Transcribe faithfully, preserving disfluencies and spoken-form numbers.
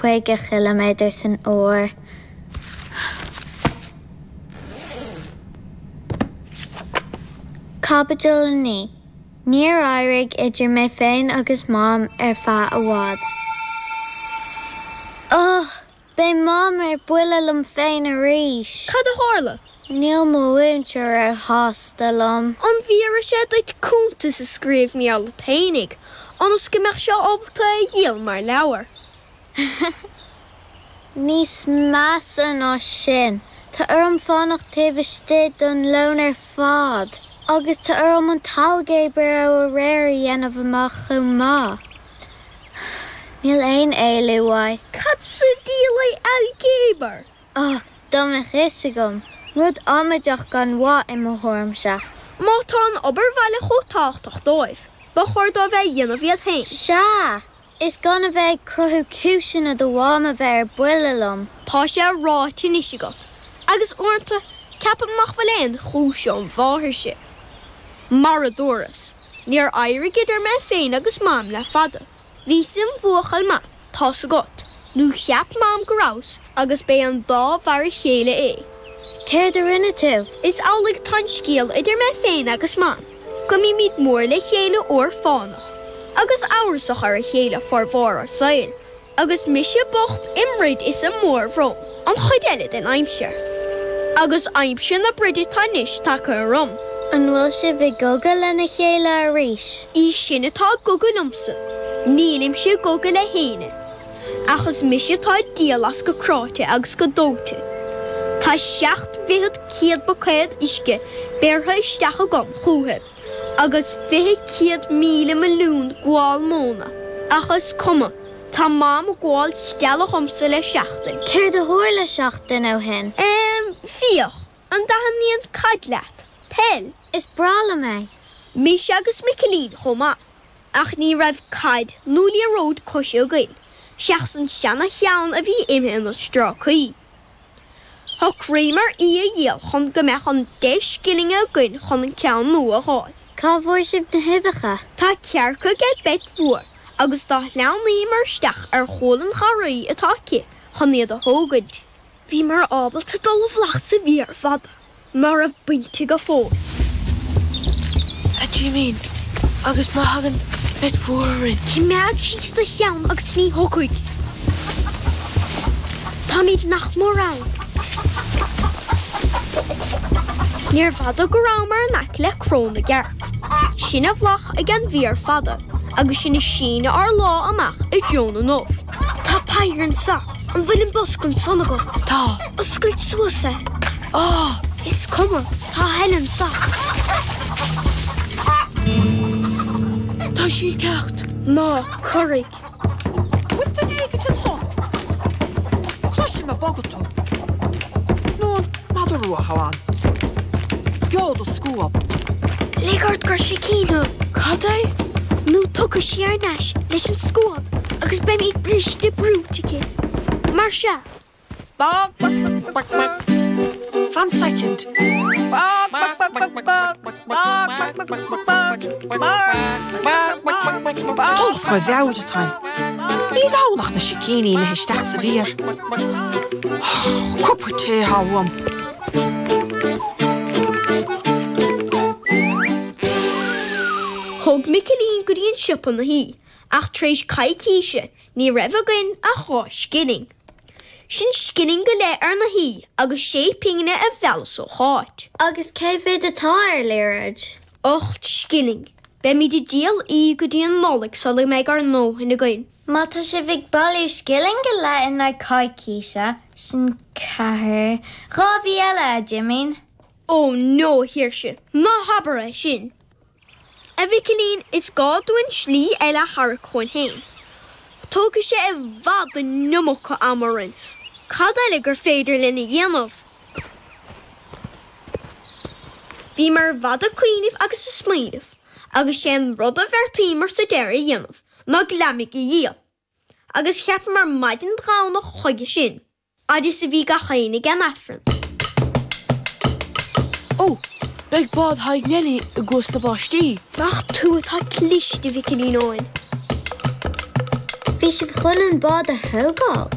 caoga chiliméadar san uair. Caibidil a naoi. Níor éirigh idir mé féin agus Mam ar feadh i bhfad. Oh! Beidh Mam ar buile liom féin arís! Cad a tharla? Níl mo mhúinteoir róshásta liom. An bhfiafraigh sé duit cuntas a scríobh mar gheall ort fhéinig, ionas go mbeadh sé ábalta é a dhíol mar leabhar? Níos measa ná sin, tá orm fanacht taobh istigh don lón ar fad, agus tá orm an t-ailgéabar ó aréir a dhéanamh amach chomh maith. Níl aon éalú uaidh. Cad sa diabhal é ailgéabar? Ó, dá mbeadh fhios agam! Rud amaideach gan mhaith i mo thuairimse. Má tá an obair bhaile chomh tábhachtach dóibh, ba chóir dóibh é a dhéanamh iad féin. Sea! Is gan a bheith ag cruthú cúiseanna do Mham a bheith ar buile liom. Tá sé ráite anois agat, agus uaireanta ceapaim nach bhfuil aon chúis ón mháthair sin. Mar a dúras, níor éirigh idir mé féin agus Mam le fada. Bhíos im bhuachaill maith, tá's agat, nó cheap Mam go rabhas, agus b'é an dá mhar a chéile é. Céard a rinne tú? Is amhlaidh atá an scéal idir mé féin agus Mam, go mbímid mór le chéile uair fánach, agus amhrasach ar a chéile formhór ár saoil, agus mise bocht im throid is i mórbhrón an chuid eile den aimsir. Agus aimsir na broide atá anois tagtha orm. An bhfuil sibh i gcogadh lena chéile arís? Í sin atá i gcogadh liomsa. Nílimse i gcogadh le héinne. Ach is mise atá ag díol as go cráite agus go dóite. Tá seacht bhfichead céad buicéad uisce bearrtha isteach agam chúithi, agus fiche céad míle milliún gabhál móna, ach is cuma, tá Mam ag gabháil stealladh dhomsa le seachtain. Céard a tharla seachtain ó shin? Em, féach, an dtaitníonn caid leat? Peil? Is breá liom é. Mise agus Micilín chomh maith. Ach ní raibh caid nó liathróid coise againn, seachas an seana-cheann a bhí imithe ina strácaí. Shocraíomar í a dhíol chun go mbeadh an deich scilling againn chun an ceann nua a fháil. Cá bhfuair sibh na huibheacha? Tá cearca ag Beit Mhór agus do shleamhnaíomar isteach ar chúl an gharraí atá aici chun iad a thógaint. Bhíomar ábalta dul i bhfolach sa bhféar fada ná raibh bainte go fóill. A Jimín, agus má thagann Beit Mhór orainn? Coimeád síos do cheann agus ní thiocfaidh. Táimid nach mór ann. Níorbh fhada go rabhamar in aice le Cró na gCearc. Sin i bhfolach ag an bhféar fada agus sinn ag síneadh ár lámh amach i dtreo na n-ubh. Tá peidhre anso. An bhfuil an bosca ansan agat? Tá. Oscail suas é. Á! Is cuma, tá a thuilleadh anso. Tá sí ag teacht. Ná corraigh. Bhfuil duine éigint anso? Cloisim ag bogadh tú. Nó an madra rua atá ann? Gheobhad do scuab. Lig ort gur sicín thú. Cad é? Nó tiocfaidh sí thar n-ais leis an scuab agus beimid briste brúite aici. Mar sea. Fan soicind. Dul as mo mheabhair atáim. Níl ann ach na sicíní imithe isteach sa bhféar. Cupa tae atá uaim. Thóg Micilín go dtí an siopa na hí, ach tar éis coicíse ní raibh againn ach dhá scilling. Sin scilling go leith ar na haoi agus sé pingine a mheallas ó Cháit. Agus cé mhéad atá ar liathróid? Ocht scilling. Beimid ag díol í go dtí an Nollaig sula mbeidh ár ndóthain againn. Má tá sibh ag bailiú scilling go leith in aghaidh coicíse, sin ceathair, dhá mhí eile, a Jimín. Ó no, a Sheoirse, ná habair é sin! A Mhicilín, is gá dúinn slí eile a tharrac chugainn féin. Tógfaidh sé i bhfad an iomarca ama orainn. Cad eile gur féidir linn a dhéanamh? Bhíomar i bhfad ag cuimhneamh agus ag smaoineamh, agus sé an rud a bheartaíomar sa deireadh a dhéanamh ná gliomaigh a dhíol. Agus cheapamar maidin Dhomhnach chuige sin. Fhad is a bhí gach éinne ag an Aifreann. Ó, beidh bád Thaidhg Neilí i gCuas na bPáistí. Nach tú atá cliste, a Mhicilín Eoin. Bhí Bhí sibh chun an bád a thógáil.